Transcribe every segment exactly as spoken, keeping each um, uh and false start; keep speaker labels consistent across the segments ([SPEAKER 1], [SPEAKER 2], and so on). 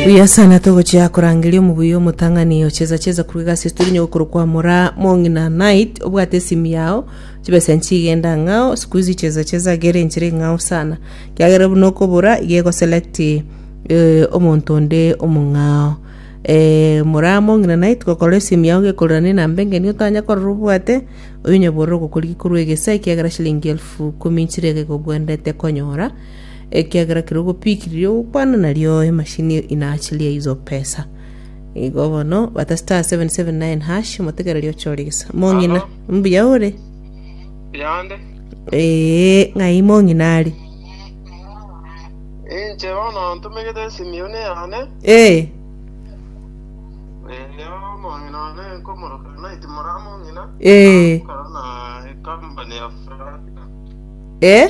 [SPEAKER 1] Buya sana togochia korangeria omobuya omotang'ani ocheza cheza korwa egasi studio nyogokoro kwa mora mong'ina night obwate esimu yao chibesa nchigenda ng'ao siku hizi cheza cheza gere enchera eng'ao sana kiagera buna okobora iga egoselect eh, omonto onde omong'ao eh, mora mong'ina night gokora esimu yao gekorera na enamba engeni otanya korora obwate oyo nyabororo ogokorigia korwa egesa ekiagera shilingi elfu kumi nchire iga egobwenerete konyora ekiagera kero ogopikiriria ogokwana nario emashini inaachilia hizo pesa igo bono bata star seven seven nine hash omotegereri ochore gesa mong'ina
[SPEAKER 2] Alo.
[SPEAKER 1] mbuya ore
[SPEAKER 2] Yande.
[SPEAKER 1] ee ng'ai mong'ina ari
[SPEAKER 2] Inche bono ntumegete esimu yone yane.
[SPEAKER 1] ee
[SPEAKER 2] Eyo omong'ina one nkomoroka Night mora mong'ina.
[SPEAKER 1] ee
[SPEAKER 2] Akora na company ya Fraga.
[SPEAKER 1] ee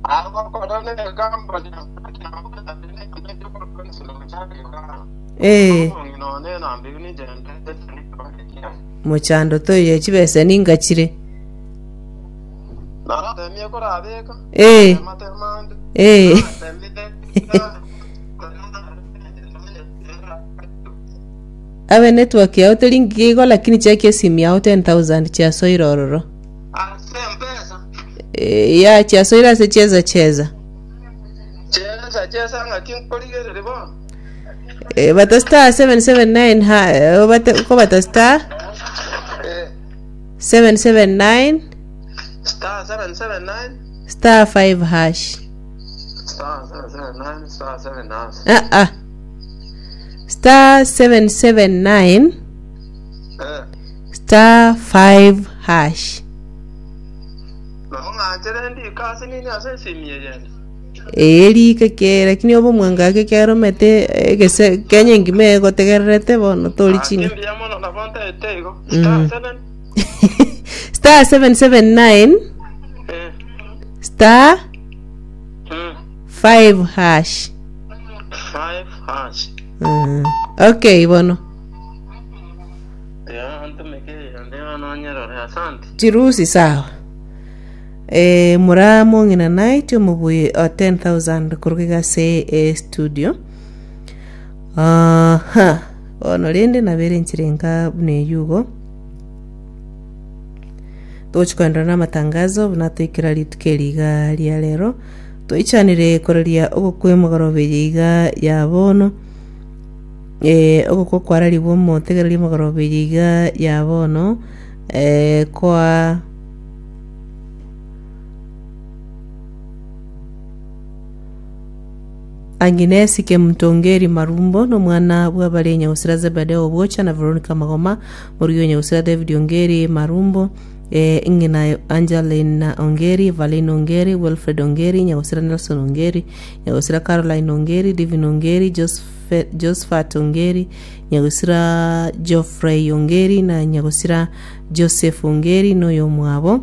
[SPEAKER 2] Agokora na company ya Fraga.
[SPEAKER 1] ee
[SPEAKER 2] Omong'ina one nambi ninche
[SPEAKER 1] mochando toyo chibesa ningachire
[SPEAKER 2] Naratemie korabeka.
[SPEAKER 1] ee
[SPEAKER 2] Matemande.
[SPEAKER 1] ee abe network yao teri igo lakini cheki esimu yao ten thousand chiasoire ororo
[SPEAKER 2] Ase mpesa.
[SPEAKER 1] e, ya chiasoire ase cheza cheza
[SPEAKER 2] Chesa chesa ng'aki nkorigereri bono.
[SPEAKER 1] e, bata star seven seven nine ha eh, bata ko bata star
[SPEAKER 2] Eh,
[SPEAKER 1] seven seven nine
[SPEAKER 2] star seven seven nine
[SPEAKER 1] star five hash
[SPEAKER 2] star seven seven nine star seven hash.
[SPEAKER 1] ah ah star seven seven nine
[SPEAKER 2] Eh,
[SPEAKER 1] star five hash
[SPEAKER 2] nabo ng'anchere ndika ase nini ase esimu eyende.
[SPEAKER 1] erika ke lakini obo mwangake keromete egese kenya engima egotegererete bono tori
[SPEAKER 2] Ake
[SPEAKER 1] ching'a
[SPEAKER 2] mbuya mono nabo ntaete igo.
[SPEAKER 1] Mm.
[SPEAKER 2] Star seven
[SPEAKER 1] star seven seven nine
[SPEAKER 2] eh
[SPEAKER 1] star
[SPEAKER 2] mm,
[SPEAKER 1] five hash
[SPEAKER 2] five hash.
[SPEAKER 1] mm. okay bono
[SPEAKER 2] Ya ntumike eyende bono nyerore asante.
[SPEAKER 1] chirusi sawa e, mura mong'ina night omobui o ten thousand koruga ase e studio aha bono rende nabere nchirenga buna eyugo togochi koenderera na amatangazo buna toikera rituko eri iga ria rero toichanire koreria ogokwa emogoroba eye iga ya bono eh, ogokwa kwararibwa omotegereria emogoroba eye iga ya bono eh, kwa Agnes Kemtongeri Marumbo nomwana bw'abare Nyausira Zebedeo Obwocha na Veronica Magoma morugi Nyausira David Ongeri Marumbo eh, ng'ina Angeline Ongeri Valine Ongeri Wilfred Ongeri Nyausira Nelson Ongeri Nyausira Caroline Ongeri Divin Ongeri Joseph, Josephat Ongeri Nyausira Geoffrey Ongeri na Nyausira Joseph Ongeri noyo mwabo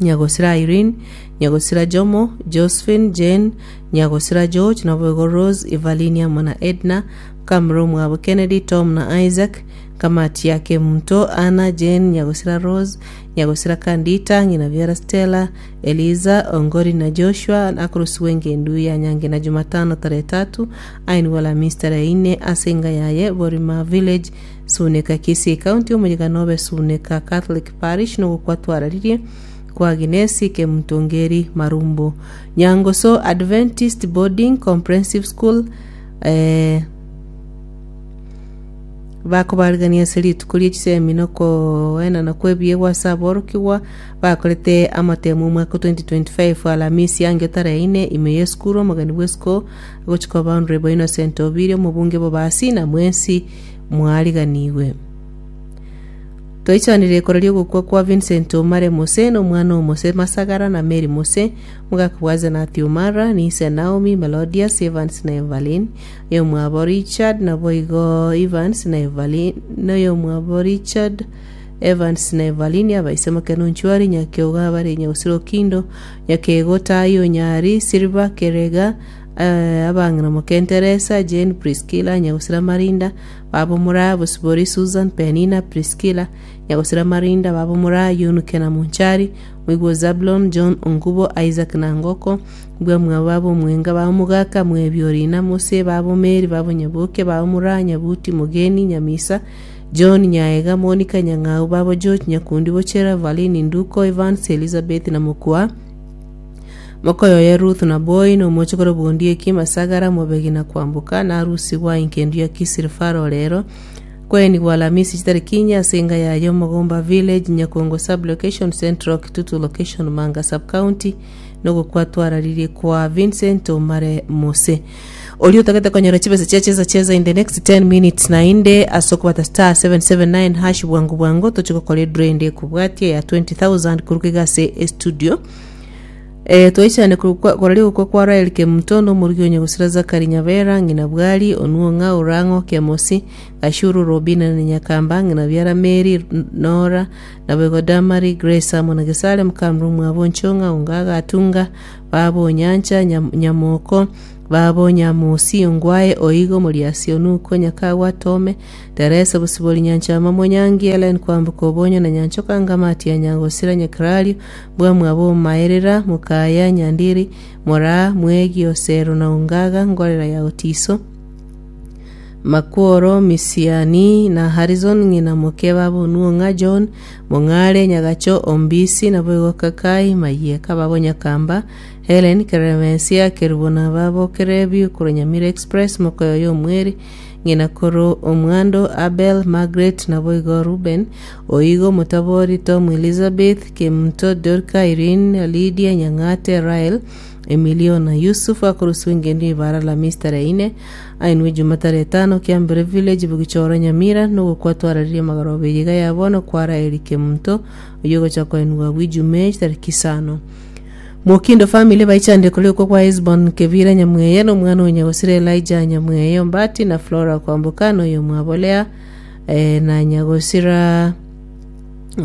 [SPEAKER 1] Nyagosira Irene, Nyagosira Jomo, Josephine, Jane, Nyagosira George, Nabogo Rose, Evelyn amo na Edna, Kamro Mwabo Kennedy, Tom na Isaac, Kamati yake Mto, Anna, Jane, Nyagosira Rose, Nyagosira Kandita, Ng'ina Vera Stella, Eliza, Ongori na Joshua, Akrusi Wenge Nduya Nyange na Jumatano tarehe tatu, Ainwala Alhamisi tarehe nne, Asenga Yaye, Borima Village, Suneka Kisii County, Omonyiganobe Suneka Catholic Parish, nogokwatwararirie kwa Agnes Kemtongeri Marumbo Nyangoso Adventist Boarding Comprehensive School eh, bakobarigania ase rituko ria chisemi nokoenana kwa ebiegwa ase aborokigwa bakorete amatemo omwaka twenty twenty-five Alhamisi yange tarehe ine ime ya esukuru omogeni bwa esiko agochika Honorable Innocent Obiri omobunge bobasi na mwensi mwariganiwe toichanire ekoreria ogokwa kwa Vincent Omare Mose na omwana omose Masagara na Mary Mose omogaka bwa Zenati Omara Nise Naomi Melodius Evans na Evelyn oyomwabo Richard naboigo Evans na Evelyn noyomwabo Richard Evans na Evelyn abaise Makeno Nchwari Nyakioga bare Nyausiro Kindo Nyakego Tayo Nyari Silva Kerega eh, abang'ina mokenteresa Jane Priscilla Nyagusira Marinda babo Mura Bosibori Susan Penina Priscilla Nyagusira Marinda babo Mura Yunuke na Munchari Mwigwo Zablon John Ongubo Isaac Nangoko bwa mwa babo Mwenga babo Mugaka Mwebyorina Mose babo Mary babo Nyaboke babo Mura Nyabuti Mugeni Nyamisa John Nyaega Monica Nyang'au babo George Nyakundi Bochera Valini Nduko Evans Elizabeth na Mukua Mokoyoye Ruth na Boy na omochokoro bondi eki Masagara Mobegi na Kwamboka na arusi gwa inkendu ya Kisiri Faro rero kweni gwa Alhamisi chitariki inya ase enga yaye Mogomba Village Nyakongo sub location Central Kitutu location Manga sub county nogokwatwararirie kwa Vincent Omare Mose ori otagete konyora chibesa chia cheza cheza in the next ten minutes nainde ase okobata star seven seven nine hash bwangu bwangu toche gokora edraw ende ekobwatia ya twenty thousand koruka iga ase estudio. Eh, twaichane korari gokwa kwa Rael Kemuto nomorugi onye gosira Zakari Nyabera ng'ina Bwari Onuong'a Orang'o Kemosi Gashuru Robina na Nyakamba ng'ina Biara Mary Nora na Bego Damari Grace amo na Gesare Mukamru mwabo Nchong'a Ongaga Atunga babo Nyancha Nyam- Nyamoko babo Nyamusi Ongwae Oigo Moriasi Onuko Nyakagwa Tome Teresa Bosibori Nyanchama Monyangi Ellen Kwamboka Obonyo na Nyanchoka Ngamati ya Nyangosira Nyakrario bwa mwabo Maerera Mukaya Nyandiri Mora Mwegi Osero na Ongaga Ngorera ya Otiso Makworo Misiani na Harrison ng'ina moke babo Nuong'a John Mong'are Nyagacho Ombisi na Boigo Kakai Mayieka babo Nyakamba Helen Keremesia Kerubo na babo Kerebi korwa Nyamira Express Mokoyoyo Omweri ng'ina koro Omwando Abel Margaret na Boigo Ruben Oigo Mutabori Tom Elizabeth Kemuto Dorka Irene Lydia Nyang'ate Rael Emilio na Yusuf akorusiwa engendu ibara la Mister ine ainwe Jumatare etano Kiambere Village Bugichoro Nyamira nogokwatwararirie magoroba eyiga ya bono kwara Eric Kemuto oyo ogocha koenwa bwa Ijumaa tariki isano Mokindo family baichande kuliko kwa Hesbon Kevira Nyamweye no mwana Nyagosira Elijah Nyamweye Ombati na Flora Kwamboka no yo mwabolea eh, na Nyagosira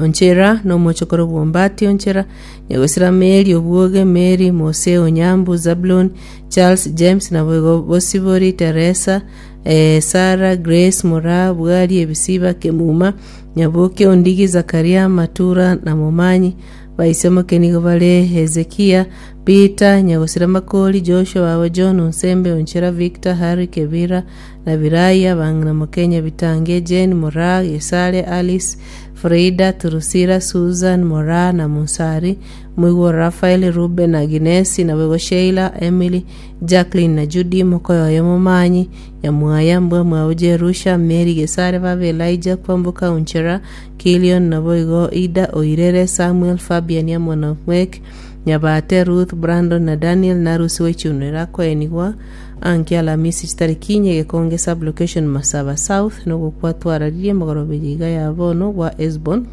[SPEAKER 1] Onchera no mochokoro bwombati Onchera Nyagosira Mary Obwoge Mary Mose Onyambu Zablon Charles James na Boigo Bosibori Teresa eh, Sarah Grace Mora Bwari Ebisiba Kemuma Nyaboke Ondigi Zakaria Matura na Momanyi baisemo kenigo bare Hezekia Peter Nyagosira Makori Joshua babo John Onsembe Onchera Victor Harry Kebira na Biraya bang'ina Mokenya Bitange Jane Mora Gesare Alice Frida Turusira Susan Mora na Munsari Mwigwo Rafael Ruben na Agnesi na Bwego Sheila Emily Jacqueline na Judy Mokoyoyo Momanyi Nyamwaya Mbwa Mwabo Jerusha Mary Gesare baba Elijah Kwamboka Onchera Kilion na Boigo Ida Oirere Samuel Fabian Yamwana Mwek Nyabate Ruth Brandon na Daniel Narusi wechunera koenigwa anki Alamisi chitariki inye Gekonge sub location Masaba South nogokwatwararirie magoroba eyiga ya bono gwa Esbon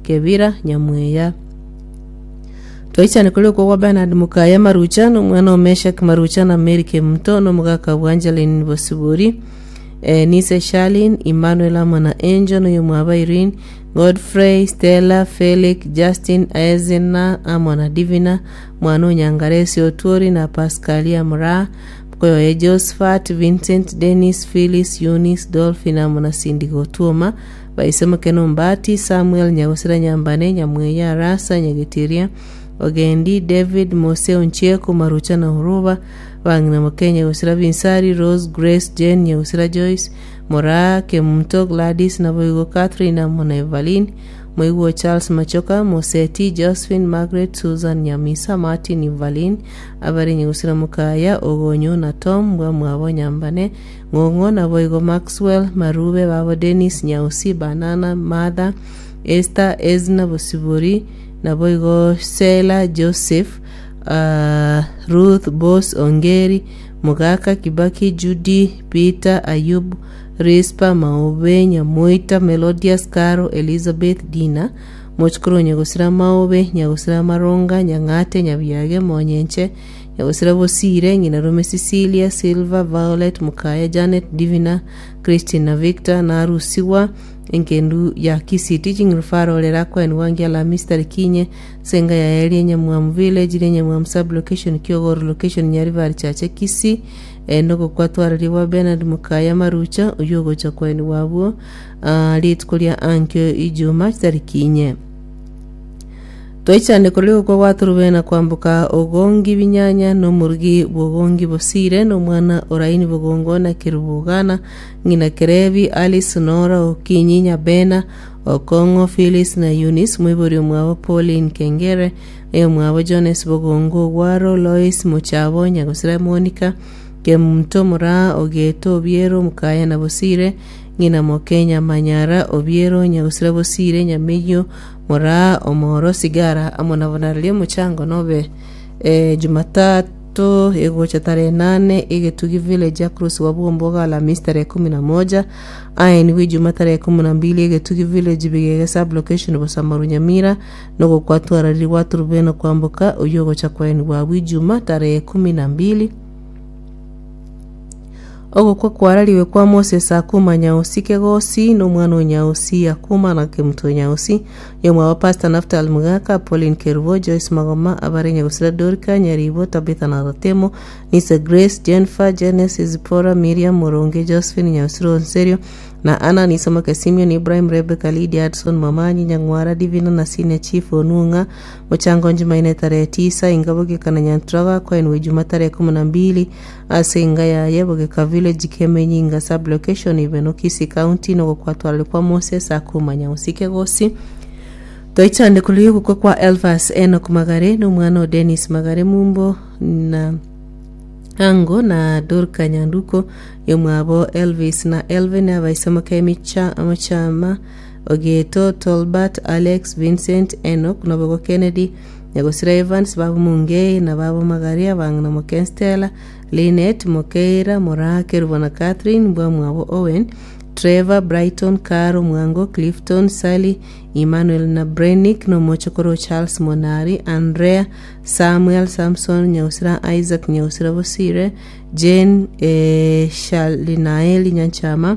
[SPEAKER 1] Kebira Nyamweya twaichane kuri okwo gwa Bernard Mukaya Marucha nomwana o Meshak Marucha na Mary Kemuto nomogaka bwa Angeline Bosibori eh, Nise Shalin Emmanuel amo na Angel noyo mwaba Irene Godfrey Stella Felix Justin Ezina amo na Divina mwana Onyangaresi Otuori na Pascalia Mura Mkoyoye Josephat Vincent Dennis Phyllis Eunice Dolphin amo na Cindy Gotuoma baisemo Mbati Samuel Nyagosira Nyambane Nyamweya Arasa Nyagetiria Ogendi David Mose Onchieko Marucha na Huruba bang'ina Mokenya Gosira Binsari Rose Grace Jane Nyagosira Joyce Mora Kemunto Gladys na Boigo Catherine amo na Evelyn Mwigwo Charles Machoka Moseti Josephine Margaret Susan Nyamisa Martin Evelyn abari Nyagosira Mukaya Ogonyo na Tom bwa mwabo Nyambane Ng'ong'o na Boigo Maxwell Marube babo Dennis Nyausi Banana Martha Esther Ezna Bosibori na Boigo Sela Joseph uh, Ruth Bos Ongeri Mugaka Kibaki Judy Peter Ayub Rispa Maobe Nyamoita Melodius Caro Elizabeth Dina Mochukuru Nyagosira Maobe Nyagosira Maronga Nyang'ate Nyabiage Monyenche Nyagosira Bosire ng'ina Rome Cecilia Silva Violet Mukaya Janet Divina Christine na Victor narusigwa engendu ya Kisii Teaching Referral erakoenwa ngia Alhamisi tariki inye senga ya eri Nyamwamu village ria Nyamwamu sub location Kiogoro location Nyaribari Chache Kisii eh, nogokwatwararibwa Bernard Mukaya Marucha oyo ogocha koenigwa abwo ah, rituko ria ankio ijuma tariki inye twaichane kori gokwa gwaturubena kwamboka ogongi binyanya nomorugi bogongi bosire nomwana oraini bogongo na kirubugana ng'ina kerebi alice nora okinyi nyabena okong'o phyllis na eunice mwibori omwabo pauline kengere eyomwabo jones bogongo ogwaro lois mochabo nyagosira monica kemunto moraa ogeto obiero mukaya na bosire ng'ina mokenya manyara obiero nyagosira bosire nyameyio moraa omoro sigara amo nabo nararia omochango nobe eh, jumatatu egocha tarehe nane egetugi village across wabwomboga alhamisi tarehe kumi na moja aeniwe ijuma tarehe kumi na mbili egetugi village bigege sublocation bosamaru nyamira nogokwatwarariri gwaturubeno kwamboka oyo ogocha kwaeniwa abwo ijuma tarehe kumi na mbili ogokwa kwarariwe kwa moses akuma nyausi kegosi nomwana o nyausi akuma na kemuto nyausi yomwe wa pastor naftal mugaka pauline kerubo joyce magoma abare nyagusira dorika nyaribo tabitha na ratemo nisa grace jennifer genesis zipora miriam moronge josephine nyausiro onserio na ana nisomoke simeon ibrahim rebecca lydia adson mamanyi nyang'wara divina na senior chief onung'a mochango njumaine tarehe tisa ingabogekana nyantraga kwaenwe juma tarehe kumi na mbili ase inga yaye bogeka village kemenyinga sublocation ibeno Kisii county nogokwatwarari kwa moses akumanya usike gosi toichande kuli gukwa kwa elvas enok magare nomwana o denis magare mumbo na ango na dorka nyanduko yomwabo elvis na elvin abaisomoka emicha omochama ogeto tolbert alex vincent enok nobogo kennedy nyagosira evans babo mungei na babo magari abang'ina moken stella linet mokeira moraa kerubo na catherine mbwa mwabo owen trevor brighton caro mwango clifton sally emmanuel na brenick nomochokoro charles monari andrea samuel samson nyausira isaac nyausira bosire jane eh, shalinaeli nyanchama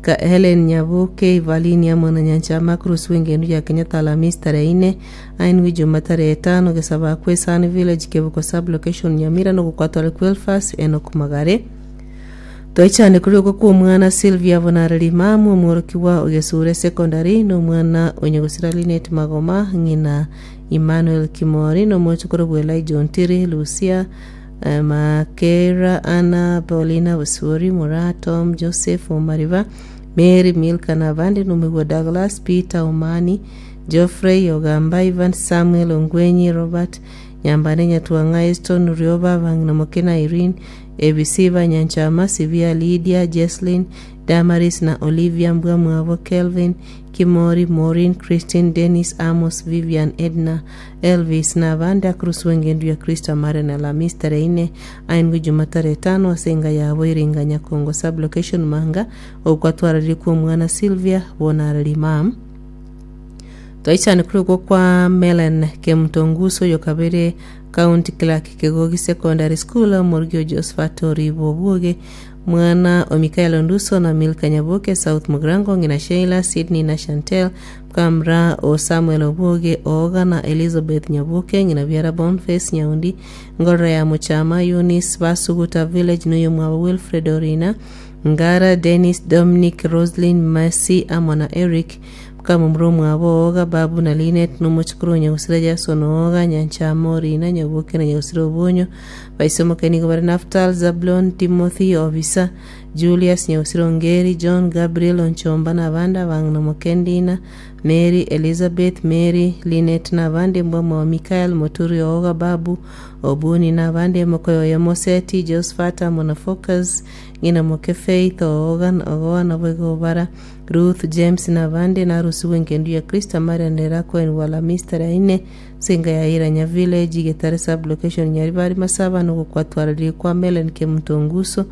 [SPEAKER 1] ka helen nyabuke ivalini amo na nyanchama cruz wengenu ya kenyatta alhamisi tarehe ine ainwi juma tarehe tano gesaba kwesani village kebuko sublocation nyamira nogokwatwara kwelfas enok magare toichane kuri uko kwa omwana sylvia bonareri mamu omworokiwa ogesure secondary nomwana onyegosira linet magoma ng'ina emmanuel kimori nomochokoro bwa elijah ontiri lucia eh, makera ana paulina busuri mura tom joseph omariba mary milka na abandi nomigwa douglas peter omani geoffrey ogamba ivan samuel ongwenyi robert nyambane nyatwang'a eston rioba bang'ina mokena irene ebisiba nyanchama sibia lydia jeslin damaris na olivia mbwa mwabo kelvin kimori maureen christine dennis amos vivian edna elvis na abandi akurusi wengendu ya kristo amare na alhamisi tarehe ine aindwi juma tarehe tano asenga yabo iringa nyakongo sublocation manga okwatwarariri kwa omwana sylvia bonarari mam twaichane kuri okwo kwa melen kemutonguso yokabere county clerk kegogi secondary school omorugio josephat oribo obwoge mwana o mikael onduso na milka nyaboke south mugrango ng'ina sheila sydney na chantel mkamra o samuel obwoge ooga na elizabeth nyaboke ng'ina biara bonface nyaundi ngorora ya muchama eunice basuguta village noyo mwabo wilfred orina ngara dennis dominic roslin mercy amo na eric mkamumuro mwabo ooga babu na linet nomochukuru nyagusira jason ooga nyanchama orina nyaboke na nyagusira obonyo baisomoke nigo bari naftal zablon timothy obisa julius nyagusira ongeri john gabriel onchomba na abandi abang'ina mokendina mary elizabeth mary linet na abandi mbwamwa wa michael moturi ooga babu obuni na abandi mokoyoyo moseti josephat amo na focus ng'ina moke faith ooga ogoa naboigo obara ruth james na abandi narusiwe engendu ya kristo amarenera koenwa alhamisi tarehe ine singa ya iranya village getare sublocation nyaribari masaba nogokwatwarariri kwa melen kemutonguso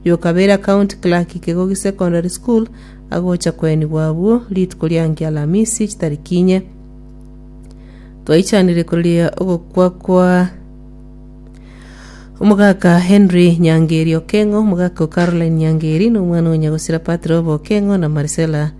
[SPEAKER 1] yokabera county clerk kegogi secondary school agocha koenigwa abwo rituko riange alhamisi chitariki inye twaichanire koria ogokwa kwa Omogaka Henry Nyangeri Okengo, omogaka o Caroline Nyangeri na omwana o Nyagosira Patrick Okengo na Marcella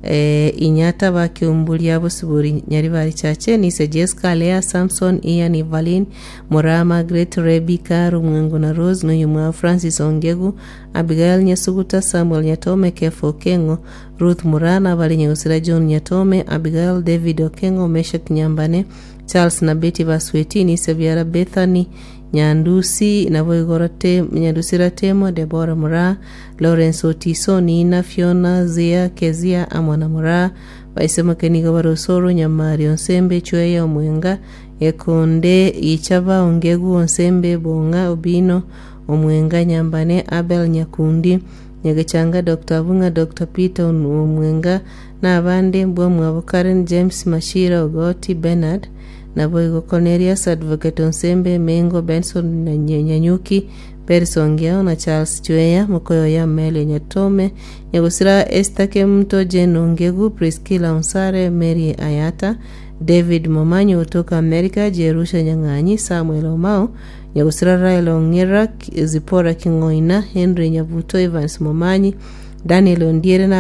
[SPEAKER 1] eh, Inyata bakiumburia bosibori Nyaribari Chache Nise Jessica Lea Samson Ian Evelyn Mora Margaret Rebecca Rumwengo na Rose noyomwa Francis Ongegu Abigail Nyasuguta Samuel Nyatome Kefo Okengo Ruth Murana bari Nyagosira John Nyatome Abigail David Okengo Meshak Nyambane Charles na Betty Basweti Nise Biara Bethany Nyandusi nabo igorote Nyandusi Ratemo Deborah Mura Lawrence Otiso Nina Fiona Zia Kezia Amwana Mura baisemake nigo barosoro Nyamari Onsembe Chweya Omwenga Ekonde Ichaba Ongegu Onsembe Bonga Obino Omwenga Nyambane Abel Nyakundi Nyagechanga Dr. Abunga Dr. Peter Omwenga na abande mbwamwabo Karen James Mashira Ogoti Bernard naboigo Cornelius Advocate Onsembe Mengo Benson na Nye- Nyanyuki Peris Ongiao na Charles Chweya Mokoyo ya Mele Nyatome Nyagosira Esther Kemto Jane Ongegu Priscilla Onsare Mary Ayata David Momanyo kutoka Amerika Jerusha Nyang'anyi Samuel Omao Nyagosira Raila Ong'era Zipora King'oina Henry Nyabuto Evans Momanyi Daniel Ondiere na